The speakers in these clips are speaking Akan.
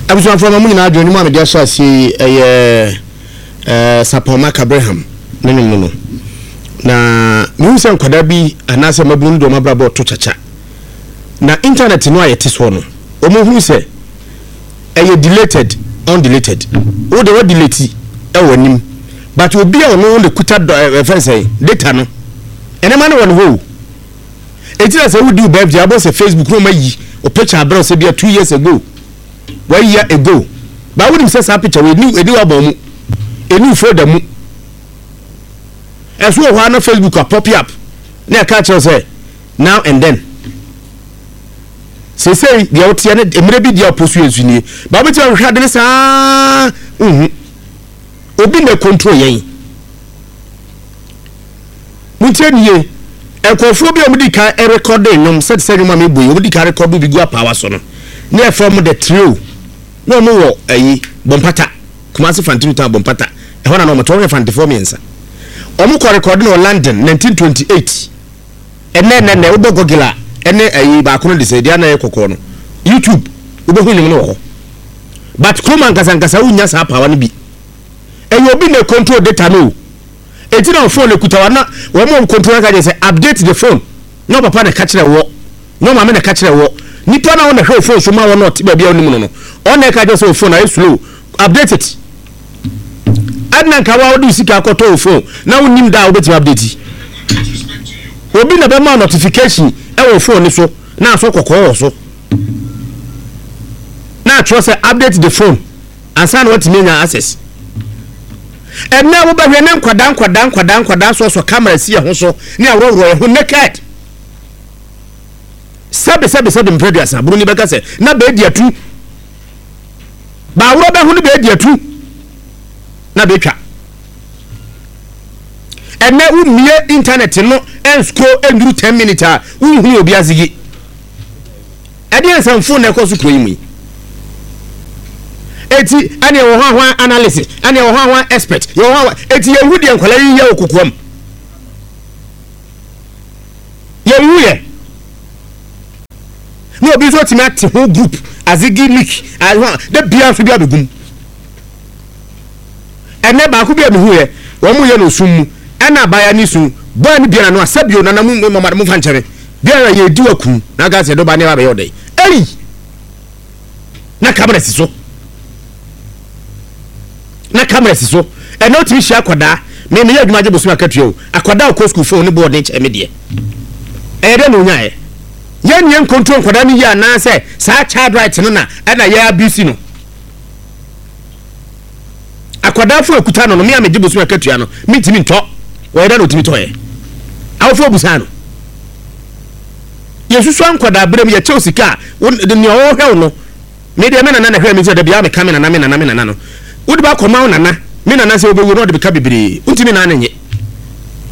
Abusuafoɔ ma mo nyinaa adwene nnwom a mede ahyɛ aseɛ yi ɛyɛ eh, Sapon Mark Abraham ne nnwom no no. Na mehu sɛ nkwadaa bi anaasɛ mmabunu no de wɔn abrabɔ reto kyakya. Na internet no a yɛte soɔ no, wɔhunu sɛ ɛyɛ deleted, undeleted. Wo de wadelete ɛwɔ anim. But obi a ɔno na kuta dɔ ɛfɛn sɛ data no, nneɛma no wɔ ne hɔ o. Eti na sɛ wodi wo birthday abɔ sɛ Facebook na ɔma yi o picture abrɛ sɛ bia 2 years ago, 1 year ago. Ba wonim sɛ saa picture wɔ eni eni wabɔ mu, eni folder mu. Ɛso wɔ hɔ a na Facebook a pop up na ɛka kyerɛ sɛ now and then. Seesei deɛ woteɛ ne mmerɛ bi deɛ ɔpɔ so yɛ nso nie. Ba wobɛtumi ahwehwɛ ade no saa nhu. Obi na control yɛn. Montie ne yie. Nkurɔfoɔ bi a wɔdi kan rekɔde nnwom sɛ te sɛ nnwom a mebɔ yi, wɔdi kan rekɔdo bi gu apaawa so no, ne yɛfrɛ wɔn The Trio. Na wɔn wɔ ayi, Bompata, Kumasi Fantinu Town Bompata. Ɛhɔ na na wɔn te, wɔn yɛ Fantefoɔ mmiɛnsa. Wɔn kɔ rekɔde no wɔ London 1928. Ɛnɛ ɛnɛ ɛnɛ wobɔ Google a ɛne ayi baako no de sɛ deɛ na ɛyɛ kɔkɔɔ no, YouTube wobɛhu nnwom no wɔ hɔ. But kurom ankasa ankasa wonnya saa apaawa no bi. Ɛyɛ obi na control data no o. Eti na phone ekuta wa na wɔn a control aka kyerɛ sɛ update the phone. Na papa na ɛka kyerɛ wɔ. Na maame na ɛka kyerɛ wɔ. Nipa na wɔn na hwɛ o phone so ma wɔn na ɔte baabi a ɔnim no no. Ɔn na ɛka kyerɛ sɛ o phone ayɛ slow. Update it. Ɛna nka wa wode sika akɔtɔ o phone na wonim da a wobɛtumi update. Obi na bɛma notification ɛwɔ phone ne so na asɔ kɔkɔɔ wɔ so. Na atwerɛ sɛ update the phone ansa na watumi anya access. Ɛnɛ wobɛhwɛ ne nkwadaa nkwadaa nkwadaa nkwadaa sɔsɔ camera si ɛho so ne aworɔworɔ yɛ ho naked. Sɛbe sɛbe sɛbe mpɛ aduasa buroni bɛka sɛ na bɛɛdi atu. Baaworɔ bɛho no bɛɛdi atu na bɛtwa. Ɛnɛ wommie internet no ɛnsko ɛnduru 10 minutes a wonhunu obi azigi. Ɛdeɛ nsɛmfo na ɛkɔ so kuro yi mu yi. Eti ɛne ɛwɔ hɔ ahoa analysis, ɛne ɛwɔ hɔ ahoa expert, yɛwɔ hɔ ahoa. Eti yɛhu deɛ nkwadaa yi yɛ wɔ kokoam. Yɛhu yɛ. Na obi nso tumi ate ho group azigi leak ahoa de bia nso bi abɛgum. Ɛnɛ baako bi a mehu yɛ, wɔn yɛ no osum mu, ɛna abaayewa ne su, bɔɔ ne biara no asɛbio nana mu mama mo fa nkyɛn. Biara yɛ di wakum na aka sɛ dɔba ne ba bɛyɛ ɔdɛ. Ei! Na kamera si so. Na kamera si so. Ɛnna otumi hyia akwadaa. Me meyɛ adwuma gye bosom akatua o. Akwadaa ɔkɔ sukuu phone ne boɔ den kyɛn me deɛ. Ɛyɛ dɛ na onyaeɛ. Yɛn yɛn control nkwadaa no yie anaasɛ saa child right no na ɛna yɛ abuse no. Akwadaa fo ekuta no no me a megye bosom akatua no mentumi ntɔ. Wɔyɛ dɛ na otumi tɔɛ. Awofo obusaa no. Yɛsusua nkwadaa berɛ mu yɛkyɛw sika a wo nea ɔrehwɛ wo no me deɛ me nana na hwɛ me nti da biara meka me nana me nana me nana no wode ba akɔma wo nana me nana sɛ wobɛwu na ɔde bɛka bebree wontumi naa ne nye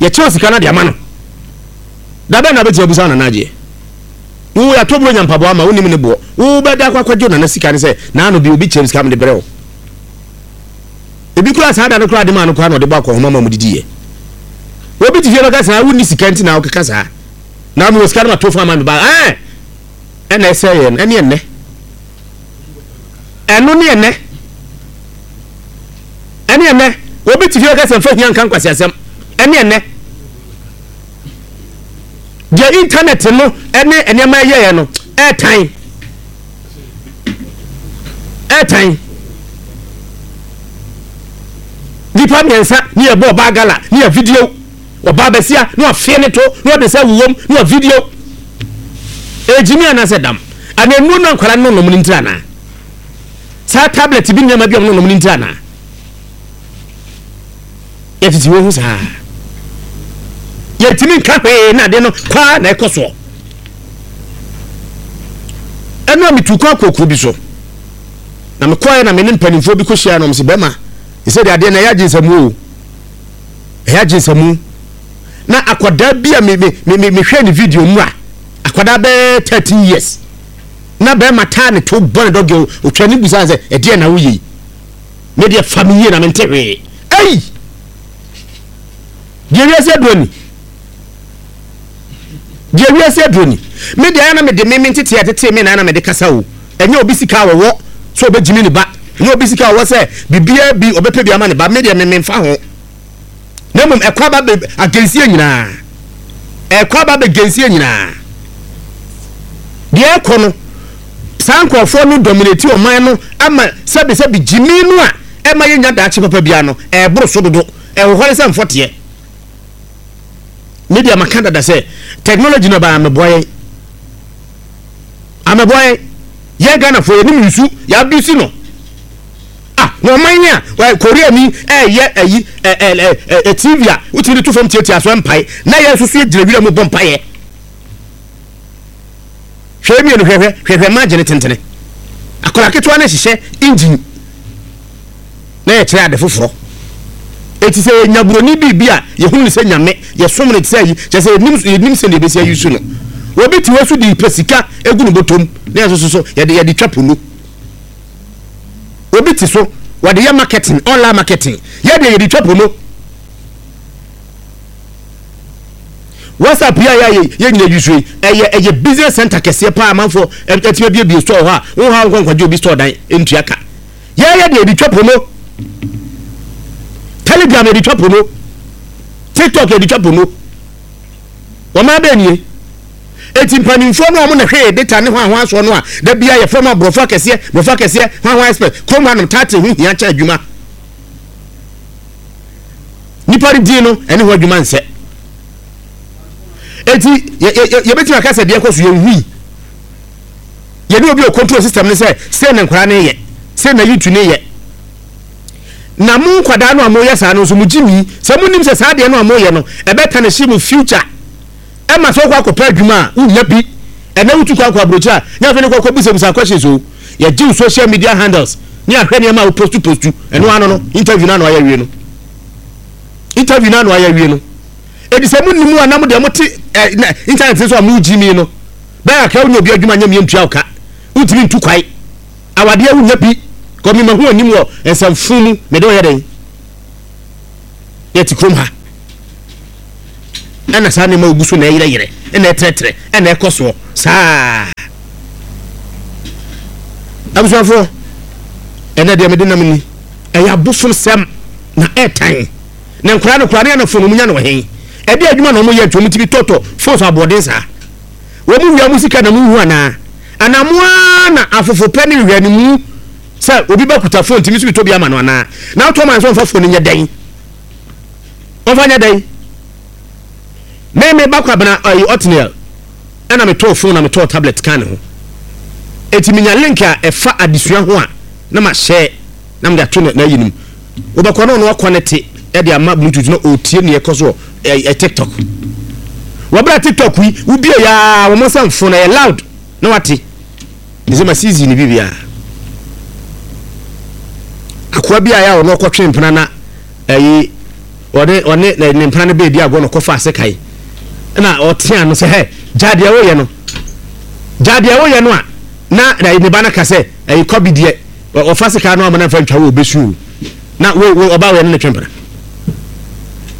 yɛkyɛw sika no de ama no da bɛn na wobɛtumi abusa wo nana agyeɛ wo yɛatɔ buro nya mpaboa ama wonim ne boɔ wo bɛda akɔ akɔgye wo nana sika ne sɛ naano bi obi kyɛm sika mede brɛ wo ebi koraa saa da no koraa de maa no koraa na ɔde bɔ akɔhoma ma mu didiiɛ obi te fie bɛka saa wonni sika nti na wokeka saa na mewɔ sika no ma to fa ma me ba ɛɛ ɛna ɛsɛ yɛ no ɛne ɛnɛ ɛno ne ɛnɛ ɛne ɛnɛ obi te fie bɛka sɛ mfa hia nka nkwasi asɛm ɛne ɛnɛ deɛ internet no ɛne nneɛma ɛyɛɛ no ɛɛtan ɛɛtan nipa mmiɛnsa ne yɛ bɔ ɔbaa gala ne yɛ video ɔbaa bɛsia ne wafee ne to ne ɔde sɛ wowom ne wa video ɛgyimi anaasɛ dam ana nnuro no nkwadaa no nom no ntiri anaa saa tablet bi nneɛma bi a wɔn nom no ntiri anaa yɛtete wɔn ho saa yɛntumi nka hwee na ade no kwaa na ɛkɔ soɔ ɛno a metu kɔ akɔkuo bi so na mekɔɛ na me ne mpanimfoɔ bi kɔhyia nom sɛ bɛma ɛsɛ de adeɛ na ɛyɛ agye nsɛmu o ɛyɛ agye nsɛmu na akwadaa bi a me me me mehwɛ ne video mu a akwadaa bɛyɛ 13 years na bɛrima taa ne to bɔ ne dɔgɛ otwa ne busa sɛ ɛdeɛ na woyɛ yi me deɛ fa me yie na mente hwee ei deɛ wiase aduro ni deɛ wiase aduro ni me deɛ ayɛ na mede me me ntete a tete me na na mede kasa o ɛnyɛ obi sika a wɔwɔ. Sɛ ɔbɛgyimi ne ba, nyɛ obi sika a ɔwɔ sɛ biribiara bi ɔbɛpɛ bi ama ne ba, me deɛ me memfa ho. Na mmom ɛkɔ aba bɛ agensie nyinaa. Ɛkɔ aba bɛ gensie nyinaa. Deɛ ɛkɔ no, saa nkurɔfoɔ no dominate ɔman no ama sɛbisɛbi gyimi no a ɛma yɛnya daakye papa biara no, ɛboro so dodo. Ɛhohɔre sɛ mfɔteɛ. Me deɛ maka dada sɛ technology no ɛbaa mɛboa yɛn. Amɛboa yɛn. Yɛn Ghanafoɔ yɛnim nsu, yɛ abuse no. Ah, na ɔman yi a Korea ni ɛyɛ ɛyi ɛ ɛ ɛ TV a wotumi de to fam tiatia so ɛmpae na yɛn nso so yɛgyina wira mu bɔ mpaeɛ. Hwɛ mmienu hwɛ hwɛ hwɛ hwɛ margin tentene. Akwadaa ketewa no hyehyɛ engine na yɛkyerɛ ade foforɔ. Eti sɛ yɛnya buroni biribi a yɛhunu no sɛ nyame, yɛsom no te sɛ ayi, kyerɛ sɛ yɛnim yɛnim sɛdeɛ yɛbɛsi ayi su no. Obi te hɔ so de pɛ sika egu ne bɔtɔm na yɛn nso so yɛde yɛde twa pono. Obi te so wɔde yɛ marketing, online marketing. Yɛ deɛ yɛde twa pono. WhatsApp yi a yɛ yɛ nyina use yi ɛyɛ ɛyɛ business center kɛseɛ paa amanfoɔ ɛtumi abiebie store hɔ a wo ha nkɔ nkwagye obi store dan ntua ka. Yɛyɛ deɛ yɛde twa promo. Telegram yɛde twa promo. TikTok yɛde twa promo. Wɔn abɛn nie. Eti mpanimfoɔ no a wɔn na hwɛ yɛ data ne hwan hwan soɔ no a da bia yɛfrɛ mo aborɔfo akɛseɛ borɔfo akɛseɛ hwan hwan expert kurom hanom tate ho hia kyɛ adwuma. Nipa no din no ɛne ho adwuma nsɛ. Eti yɛbɛtumi aka sɛ deɛ ɛkɔ so yɛnhui. Yɛne obi a ɔcontrol system no sɛ sei na nkwadaa no yɛ, sei na youth no yɛ. Na mo nkwadaa no a moyɛ saa no nso mo gye mi sɛ monim sɛ saa adeɛ no a moyɛ no ɛbɛta ne hye mo future. Ɛma sɛ wokɔ akɔpɛ adwuma a wonnya bi. Ɛnɛ wotu kwan kɔ aburokyire a nyɛ afei ne kɔ kɔbusabusa questions o. Yɛgye wo social media handles ne ahwɛ nneɛma a wopostu postu. Ɛno ano no interview no ano ayɛ awie no. Interview no ano ayɛ awie no. Edi sɛ monim a na mo deɛ mote eh, internet so a mogye mi no. Bɛyɛ kakra wonya obi adwuma nyɛ mmiɛ ntua wo ka. Wontumi ntu kwae. Awadeɛ wonya bi. Kɔ me mahu anim wɔ nsɛmfo mu. Mede wo yɛ dɛn? Yɛte kurom ha. Ɛna saa nneɛma ogu so na ɛyerɛyerɛ, ɛna ɛtrɛtrɛ, ɛna ɛkɔ soɔ saa. Abusuafoɔ, ɛnɛ deɛ mede nam ni. Ɛyɛ abosomsɛm na ɛtan. Na nkwadaa no koraa ne anafo no wɔn nya no wɔ he? Ɛde adwuma na wɔn yɛ nti wɔn tumi tɔtɔ phones aboɔden saa. Wɔn wia mo sika na mo nhu anaa? Anaa mo ara na afofo pɛ ne nhwɛanimu sɛ obi ba kuta phone nti me nso metɔ bi ama no anaa? Na wotɔ ma no sɛ ɔmfa phone no nyɛ dɛn? Ɔmfa nyɛ dɛn? Me me ba Kwabena ɛyi Otniel ɛna metɔɔ phone na metɔɔ tablet kaa ne ho. Eti menya link a ɛfa adesua ho a na ma share na mede ato n'ayi no mu. Wobɛkɔ na ɔno akɔnɛte de ama bluetooth na ɔretie nea ɛkɔ so wɔ ɛ TikTok. Wɔbrɛ TikTok yi, wobie ya wɔn nsa mfo na ɛyɛ loud na wate. Ne sɛ ma season ne biribiara. Akoa bi a yɛ a ɔno ɔkɔtwe mpena na ɛyi ɔne ɔne ne mpena no bɛɛdi agorɔ na ɔkɔfa ase kae. Na ɔtea no sɛ hɛ gya deɛ woyɛ no. Gya deɛ woyɛ no a na ne ba no ka sɛ ɛyi kɔbi deɛ Ɔfa sika no amana mfa ntwa wo obesu o. Na wo wo ɔba wo yɛ ne ne twe mpena.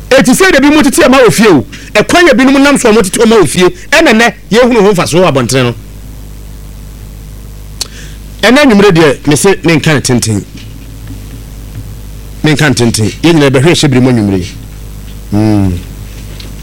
Eti sɛ de bi mo tete ɛma wɔ fie o. Ɛkwan yɛ binom nam so ɔmo tete ɔma wɔ fie ɛna nɛ yɛ hunu ho mfasoɔ wɔ abɔntene no. Ɛnɛ anwummere deɛ me se me nka ne tenten. Me nka ne tenten. Yɛ nyina yɛbɛhwɛ hyɛ bere mu anwummere yi. Mm.